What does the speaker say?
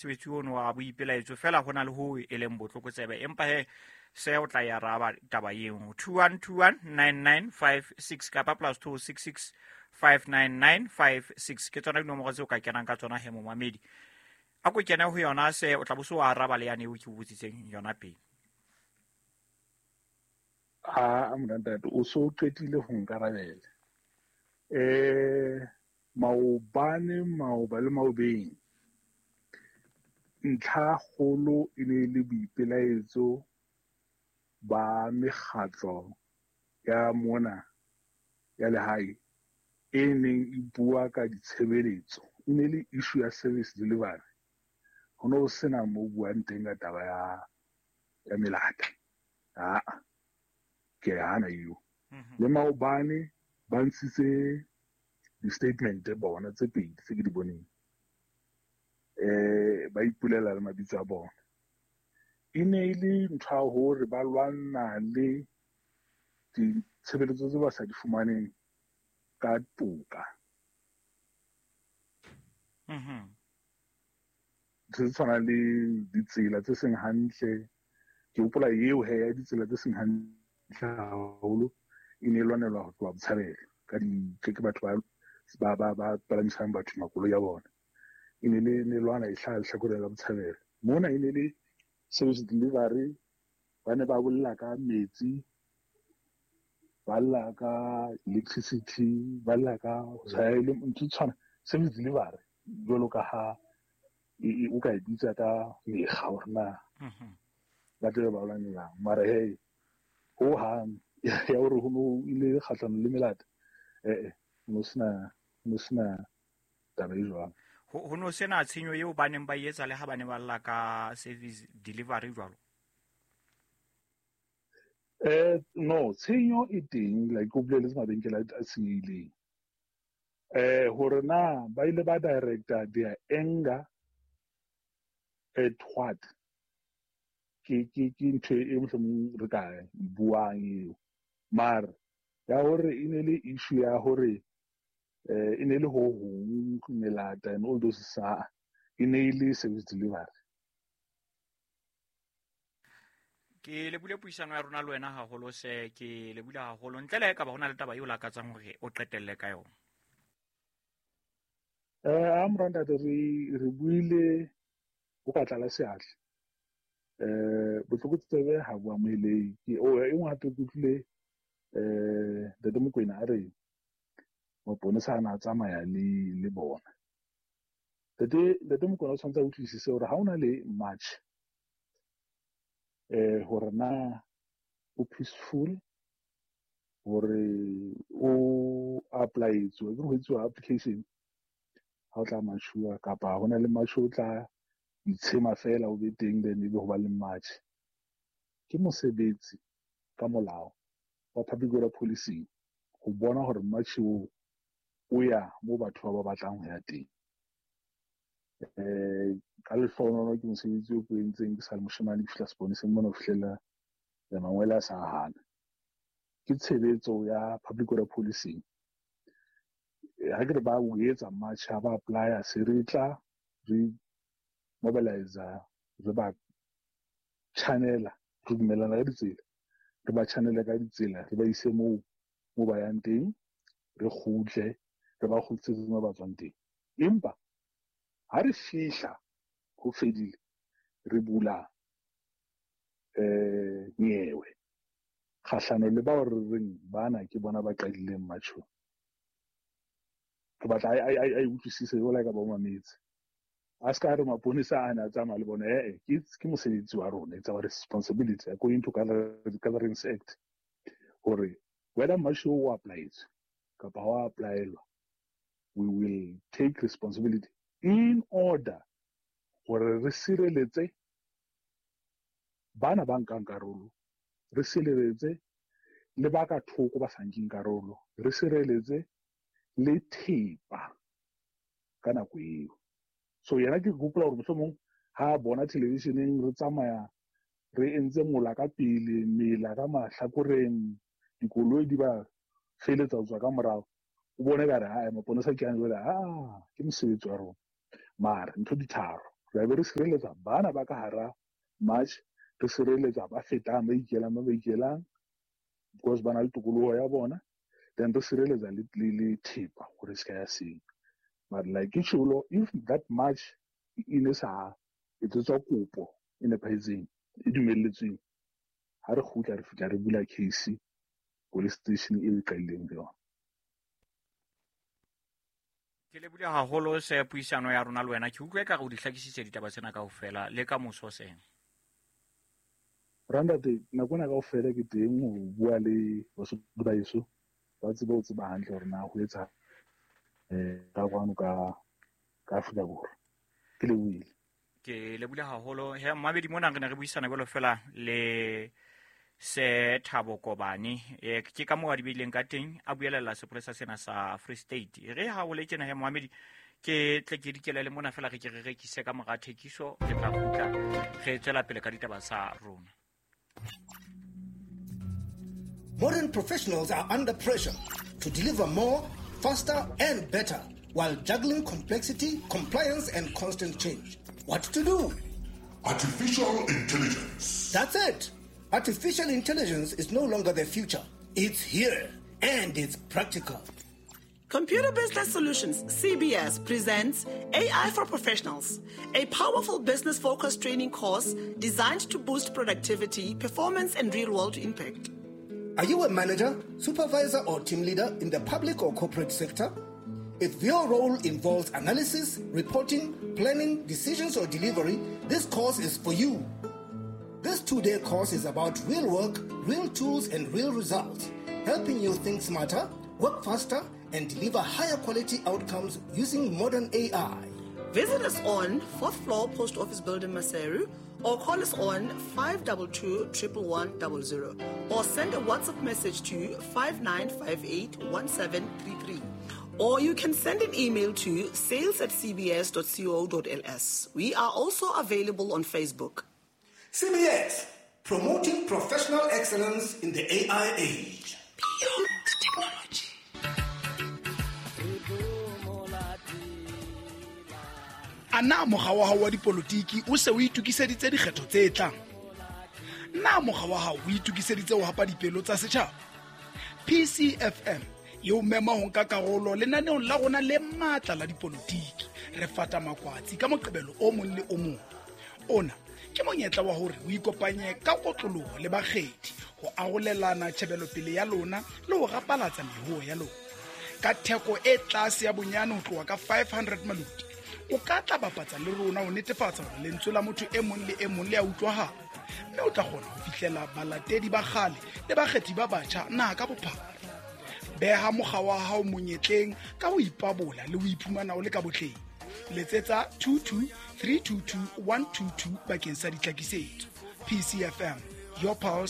Mosebetsi ono wa boipelaetso fela go na le ho e leng botlokotsebe, empa he se o tla e araba taba eo. 21219956 kapa +266 59956 ke tsona dinomoro tseo ka kenang ka tsona he momamedi. A ko kene ho yona se o tla bo se o araba le yane eo ke o botsitseng yona pele. A montate o so qetile ho nkarabela. Maobane maoba le maobeng ntlha kgolo e ne le boipelaetso ba mekgatlo ya mona ya lehae e neng e bua ka ditshebeletso. E ne le issue ya service delivery. Ho no sena mo buang teng ka taba ya melata. Ah, ke hana eo. Le maobane ba ntshitse di-statement bona tse pedi tse ke di boneng. Ba ipulela le mabitso a bona. E ne e le ntho ya hore ba lwana le ditshebeletso tse ba sa di fumaneng ka toka. Tse tshwanang le ditsela tse seng hantle. Ke hopola eo he ya ditsela tse seng hantle haholo e ne e lwanelwa ho tloha Botshabelo ka di ke batho ba palamisang batho makoloi a bona. E ne le ne lwana e hlaha lehlakoreng la Botshabelo. Mona e ne le service delivery, ba ne ba bolela ka metsi, ba lla ka electricity, ba lla ka ntho tshwana service delivery jwalo ka ha o ka e bitsa ka mekga hore na ba tlabe ba lwanelang. Mara hei ho hang ya hore ho no ile kgahlano le melata, ho no sena taba e jwalo. Ho no sena tshenyo eo ba neng ba e etsa le ha ba ne ba lla ka service delivery jwalo? No, tshenyo e teng, like o boleletse mabenkele a senyehileng. Hore na ba ile ba director their anger at what? Ke ntho e mohlomong re ka buang eo. Mara ya hore e ne le issue ya hore e ne le ho hong melata and all those sa e ne e le service delivery. Ke lebule puisano ya rona le wena haholo se ke lebule haholo ntle le ka ba hona le taba eo lakatsang hore o qetelle ka yona. A morantate re buile o ka tlala seatla. Botlokotsebe ha bo amohelehe. Ke o e nngwe hape ke utlwile Ntate Mokoena a re maponesa a na tsamaya le bona. Ntate Mokoena o tshwanetse a utlwisise hore ha hona le march hore na o peaceful, hore o apply-etswe, ke ho etsuwa application ha o tla march-uwa, kapa hona le march o tla itshema fela o be teng then ebe ho ba le march. Ke mosebetsi ka molao wa public order policing ho bona hore march o o ya mo batho ba batlang ho ya teng. Ka lehlohonolo ke mosebetsi o ke o entseng ke sa le moshemane, ke fihla seponeseng mona ho fihlela mangwele a sa hana. Ke tshebetso ya public order policing. Ha ke re ba o etsa march, ha ba apply-a, se re tla re mobilize, re ba channela, re dumellana ka ditsela, re ba channela ka ditsela, re ba ise moo mo ba yang teng, re kgutle, re ba kgutlisetse mo ba tswang teng. Empa ha re fihla ho fedile, re bula nyewe kgahlano le bao re reng bana ke bona ba qadileng matjho. Ke batla a utlwisise jwalo ka ba mametse. A ska re maponesa a na tsamaya le bona, ke mosebetsi wa rona, it's our responsibility according to Gatherings Act hore whether march o apply-etswe kapa ha o apply-elwa, we will take responsibility in order hore re sireletse bana ba nkang karolo, re sireletse le ba ka thoko ba sa nkeng karolo, re sireletse le thepa ka nako eo. So yena ke hopola hore mohlomong ha bona television-eng re tsamaya re entse mola ka pele, mela ka mahlakoreng, dikoloi di ba feletsa ho tswa ka morao, o bone ka re, hai, maponesa ke a jwale, ke mosebetsi wa rona. Mara ntho di tharo, Re be re sireletsa bana ba ka hara march, re sireletsa ba fetang ba ikelang ba ikelang because ba na le tokoloho ya bona, then re sireletsa le thepa hore se ka ya seng. But like ke tjholo, if that march e ne sa etsetswa kopo e nepahetseng e dumelletsweng, ha re kgutla re fihla re bula case police station e re qadileng ho yona. Ke lebile haholo se puisano ya rona le wena. Ke utlwe ekare o di hlakisitse ditaba tsena kaofela le ka moso seng. Randate, nako ena kaofela ke teng ho bua le Basotho ba heso, ba tsebe ho tseba hantle hore na ho etsa ka kwano ka Afrika Borwa. Ke lebohile. Ke lebohile haholo. He mmamedi mona re ne re buisana jwalo fela le se Thabo Kobane. Ke ka moo a di beileng ka teng, a buelella sepolesa sena sa Free State. Re ha o le tjena he mmamedi, ke tle ke dikele le mona fela re ke re rekise ka mora thekiso, re tla kgutla re tswela pele ka ditaba tsa rona. Modern professionals are under pressure to deliver more, faster and better while juggling complexity, compliance and constant change. What to do? Artificial intelligence. That's it. Artificial intelligence is no longer the future. It's here and it's practical. Computer Business Solutions, CBS, presents AI for Professionals, a powerful business-focused training course designed to boost productivity, performance, and real-world impact. Are you a manager, supervisor, or team leader in the public or corporate sector? If your role involves analysis, reporting, planning, decisions, or delivery, this course is for you. This 2-day course is about real work, real tools, and real results, helping you think smarter, work faster, and deliver higher quality outcomes using modern AI. Visit us on 4th floor Post Office Building, Maseru, or call us on 522 11100, or send a WhatsApp message to 5958 1733. Or you can send an email to sales@cbs.co.ls. We are also available on Facebook. CBS, promoting professional excellence in the AI age. Beyond technology. A na mokga wa hao wa dipolotiki o se o itokiseditse dikgetho tse tlang? Na mokga wa hao o itokiseditse ho hapa dipelo tsa setjhaba? PCFM e o mema ho nka karolo lenaneong la rona le matla la dipolotiki. Re fata makwatsi ka Moqebelo o mong le o mong. Ona ke monyetla wa hore o ikopanye ka kotloloho le bakgethi ho arolelana tjhebelopele ya lona le ho rapalatsa mehoo ya lona. Ka theko e tlase ya bonyane ho tloha ka 500 maloti, o ka tla bapatsa le rona ho netefatsa hore lentswe la motho e mong le e mong le a utlwahala, mme o tla kgona ho fihlela balatedi ba kgale le bakgethi ba batjha naha ka bophara. Beha mokga wa hao monyetleng ka ho ipabola le ho iphumana o le ka botleng. Letsetsa 22 322 122 bakeng sa ditlhakisetso. PCFM, your pulse,